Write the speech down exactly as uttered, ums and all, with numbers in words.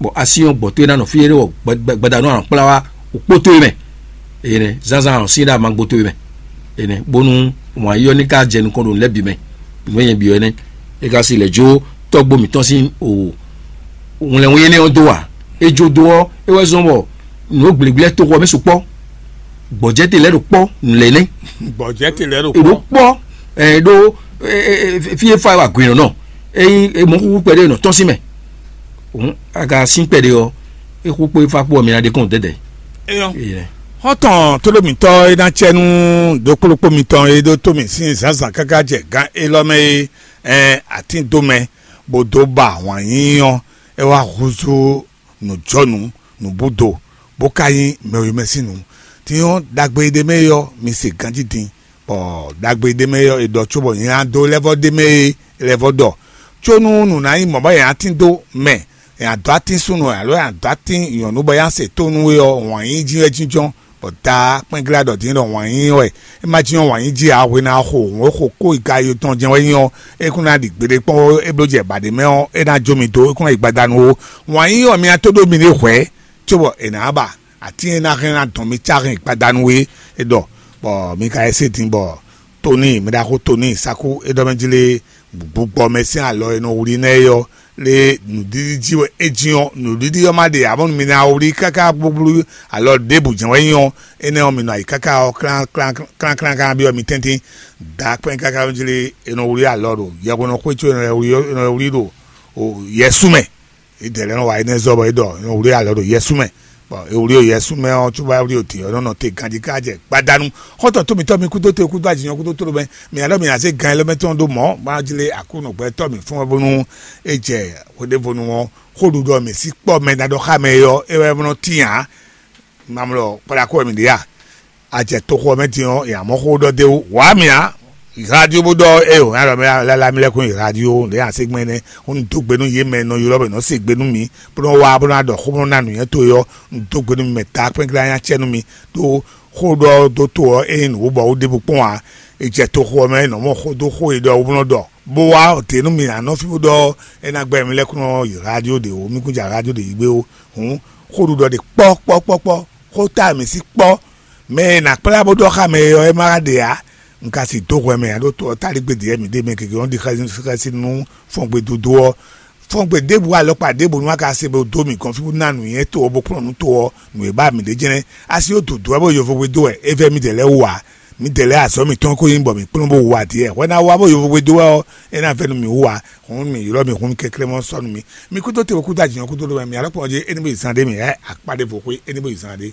Bɔ asi ɔ́ gbɔ tó e ná nɔ fí é ɖé wɔ gbadanu anɔ kplá wá òkpó tó e mɛ. Ene zánzán anɔ sín ɖa ma gbó tó e mɛ. Ene bónú wǎn yɔ ní ká jɛ nukɔn ɖo nǔ lɛ́ɛ bǐ mɛ. Nǔ e nyɛ bǐ ɔ́ nɛ́. É ka si lɛ̌ jó tɔ́gbó mǐtɔn sín o wlɛnwé énɛ́ ɔ́ dó ǎ. É jó dó ɔ́, é wɛ zɔ́n bɔ nǔ e gblěgblé toxo ɔ́ mɛ sukpɔ́. Gbɔ̌jɛ́ te lɛ́ ɖo kpɔ́ nǔ lɛ́ɛ nɛ́. Gbɔ̌jɛ́ te lɛ́ ɖo È ɖó kpɔ́. Kpɔ́ ɛ ɖó fí e fa wà gbǐnɔ nɔ. Ényí mɔ̌ kúkú kpɛɖé nɔ tɔ́n sín mɛ. Hǔn a ka sín kpɛɖé ɔ́, é xú kpó é fá kpó ɔ́, mi ná ɖe kɔn dɛdɛ. Eyɔn. Xɔ́ntɔn tóɖó mǐtɔn e ná cɛ nú ɖokpóɖokpó mitɔn e ɖó tó mì sín zǎnzǎn káká jɛ gán élɔ́ mɛ é, ɛn atín dó mɛ, bó dó ba wǎn yíyí ɔ́, é wá húzú nǔjɔnǔ, nǔbúdo, bó ka nyí mɛ e mɛ sín nǔ. Din ɔ́, ɖagbe e ɖ'é mɛ é ɔ́, mi se ganjí din, bɔ ɖagbe e ɖ'é mɛ é ɔ́, è ɖɔ cóbɔ nyɛ ná dó lɛ́ vɔ́ ɖ'é mɛ é lɛ́ vɔ́ ɖɔ, có nú nǔ ná nyí mɔ̌ bɔ è nǎ tín dó mɛ, è nǎ dó atín súnnu alo è nǎ dó atín nyɔ̌nu bɔ é ná se tónú é ɔ́, wǎn yíyí jí wɛ jínjɔ́n, bɔ Daá kpɛ́nglá ɖɔ din ɖɔ wǎn yíyí wɛ. É ma jínjɔ́n wǎn yíyí jí ǎ, hwe ná xo hǔn e xo kó yi ka yotɔn jɛ́n wɛ nyí ɔ́, é kún ná ɖi gbeɖé kpɔ́n ó, é bló jɛ bǎɖé mɛ ɔ́, é ná jó mi dó, é kún ná yi gbadanu ó. Wǎn yíyí ɔ́, mi ná tó ɖó miɖée hwɛ̌, cóbɔ è nǎ ba atín e ná hɛn ná dɔn mi cá hɛn gbadanu é, é ɖɔ, bɔ mi ka yɛ se din bɔ Tóni, mɛ ɖaxó Tóni Sáku é ɖɔ mɛ jí lé, gbugbɔ mɛ sín alɔ e nɔ wlí nɛ́ é ɔ́, lé nǔɖiɖi jí wɛ é jí ɔ́, nǔɖiɖi ɔ́ ma ɖe ǎ, bónú mi ná wlí káká gbúgblu alɔ ɖěbǔ jɛ́n wɛ nyí ɔ́, énɛ́ ɔ́, mi nɔ ayǐ káká ɔ́, klán klán klán klán byɔ́ mi tɛ́ntin, da kpɛ́n káká jí lé, è nɔ wlí alɔ ɖo yɛhweɖɔ xwé có è nɔ wlí ɖo yɛsú mɛ. Idɛɛ lɛ́ɛ nɔ wa énɛ́ zɔ bɔ é ɖɔ è nɔ wlí alɔ ɖo yɛsú mɛ. Bɔ è wlí ɖo yɛsú mɛ ɔ́, cóbɔ é wlí ɖo tǐ ɔ́, é nɔ nɔ te ganjí ká jɛ gbadanu. Xɔ́ntɔn tó mǐtɔn mi kúdó te kúdó ajǐnyɔ kúdó tló mɛ, mi alɔ mi ná zé gan élɔ́ mɛ tɔn ɖó mɔ̌, bó ná jlé Aklúnɔ gbɛtɔ́ mǐ fún wɛ bónú é jɛ hweɖévonu ɔ́, xó ɖuɖɔ mǐ sí kpɔ́ mɛ ná ɖɔ xá mɛ é ɔ́, é wɛ nɔ tín ǎ. Mamlɔ kplá kó wɛ mǐ ɖe a? A jɛ toxo ɔ́ mɛ din ɔ́, è nǎ mɔ xó ɖɔ d'é wú. Wǎ mì ǎ. Yi radio bó ɖɔ ée wǒ nya ɖɔ mɛ lɛ́ɛ mì lɛ́ kún yi radio ɖě nya ségbɛ́n nɛ́, bó nú dó gbe nú yě mɛ e nɔ ylɔ́ bɔ è nɔ se gbe nú mì, bó nɔ́ wá bó ná ɖɔ xó bó nɔ́ ná nǔnywɛ́ towe ɔ́, un dó gbe nú mi mɛ ta kpɛ́nklɛ́n nya cɛ nú mi, ɖó xó ɖɔ dó to ɔ́, é nyí nǔ bɔ wú ɖěbǔ kpɔ́n ǎ. È jɛ toxo ɔ́ mɛ, è nɔ mɔ xó dó xó e ɖɔ wú bó nɔ́ ɖɔ, bó wá dě nú mi ǎ nɔ fí bó ɖɔ é ná gbɛ́ mi lɛ́ kún nɔ yi radio ɖě wú, mí kún jɛ radio ɖě yi gbé ó. Hǔn xó ɖuɖɔ ɖe kpɔ́ kpɔ́ kpɔ́ kpɔ́, xó ta mǐ sí kpɔ́, mɛ e nǎ kplá bó ɖɔ xá mɛ é ɔ́, é ma ɖe ǎ. Un ka si dó hwɛ mɛ ǎ, ɖó to ɔ́, táligbé ɖě mi ɖe mɛ gěgé ɔ́ ɖi xɛsi nú fɔngbe dodó ɔ́. Fɔngbe ɖěbǔ alɔkpa ɖěbǔ nú a ka se bó dó mǐ gɔ́n fí bó ná nǔnywɛ́ to ɔ́ bó kplɔ́n nǔ to ɔ́, nǔ e ba mǐ ɖe jɛ́nɛ́. Asi ó dǒdó wɛ bó yovógbé dó wɛ, é vɛ́ mǐdɛɛ lɛ́ɛ wú ǎ. Mǐdɛɛ lɛ́ɛ azɔ̌ mǐtɔn ko nyí bɔ mǐ kplɔ́n bó wú ǎ ɖíe. Hwɛ ná wá bó yovógbé dó wɛ ɔ́, é ná vɛ́ nú mǐ wú ǎ. Hǔn mǐ ylɔ́ mǐ hun mi kɛnklɛ́n mɔ sɔ́ nú mi. Mi kúdó te kúdó ajǐ nyɔ́ kúdó ɖó mɛ, mǐ alɔkpa ɔ́ jí é ní bó yi zán ɖé mǐ, ɛ akpá ɖěvo xwé é ní bó yi zán ɖé.